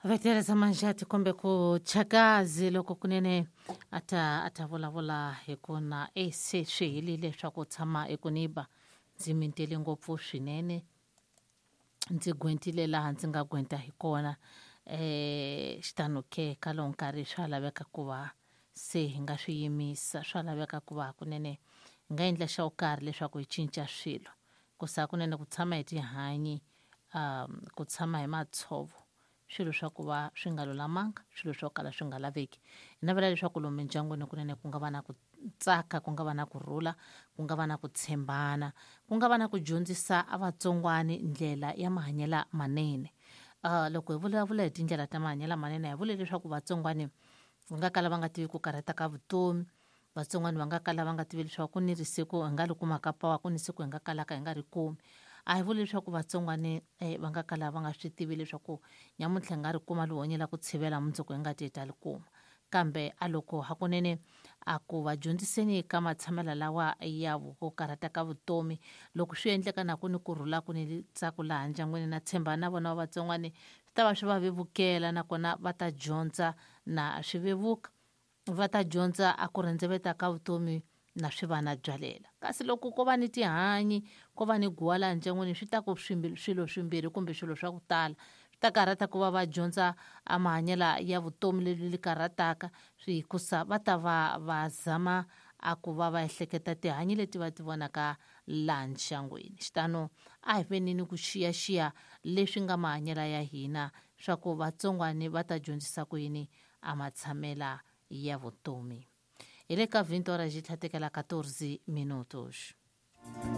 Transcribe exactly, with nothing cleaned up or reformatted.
Vetereza Manjati kumbe ku Chakazi loko kunene a ta a ta vulavula hi ku na e se swi helile swa ku tshama eKuniba. Ndzi mintele ngopfu swinene, ndzi gwentile laha ndzi nga gwenta hi kona. eh xitano ke ka lowu nkarhi swa laveka ku va se hi nga swi yimisa, swa laveka ku va kunene hi nga endla xa karhi leswaku hi cinca swilo. Ku sa kunene ku tshama hi tihanyi, um ku tshama hi matshovo, swilo swa ku va swi nga lulamanga, swilo swo kala swi nga laveki. Hi navela leswaku lomu mindyangwini kunene ku nga va na ku tsaka, ku nga va na ku rhula, ku nga va na ku tshembana, ku nga va na ku dyondzisa a vatsongwani ndlela ya mahanyelo manene. Uh, loko hi vulavula hi tindlela ta mahanyelo manene, hi vule leswaku vatsongwani va nga kala va nga tivi ku karhata ka vutomi, vatsongwani va nga kala va nga tivi leswaku ku ni risiku hi nga ri kumaka pawa, ku ni siku hi nga kalaka hi nga ri kumi. A hi vuli leswaku vatsongwani eh, va nga kala va nga swi tivi leswaku nyamuntlha hi nga ri kuma lihonye la ku tshivela, mundzuku hi nga ti hi ta ri kuma. Kambe a loko hakunene a ku va dyondziseni ka matshamelo lawa ya ku karhata ka vutomi, loko swi endleka na ku ni kurhula, ku ni ntsako laha ndyangwini, na tshemba na vona va vatsongwani swi ta va swi va vevukela, nakona va ta dyondza na swi vevuka, va ta dyondza a ku rhendzeveta ka vutomi na swi va na byalela. Kasi loko ko va ni tihanyi, ko va ni guwa laha ndyangwini, swi ta ku swilo swimbirhi kumbe swilo swa ku tala swi ta karhata ku va va dyondza a mahanyelo ya vutomi leri li karhataka, hikusa va ta va va zama a ku va va ehleketa tihanyi leti va ti vonaka laha ndyangwini. Xitano a hi veni ni ku xiyaxiya leswi nga mahanyelo ya hina, swa ku vatsongwani va ta dyondzisa ku yini a matshamela ya vutomi. Hi le ka vhinte hora yi tlhatekela quatorze minutos.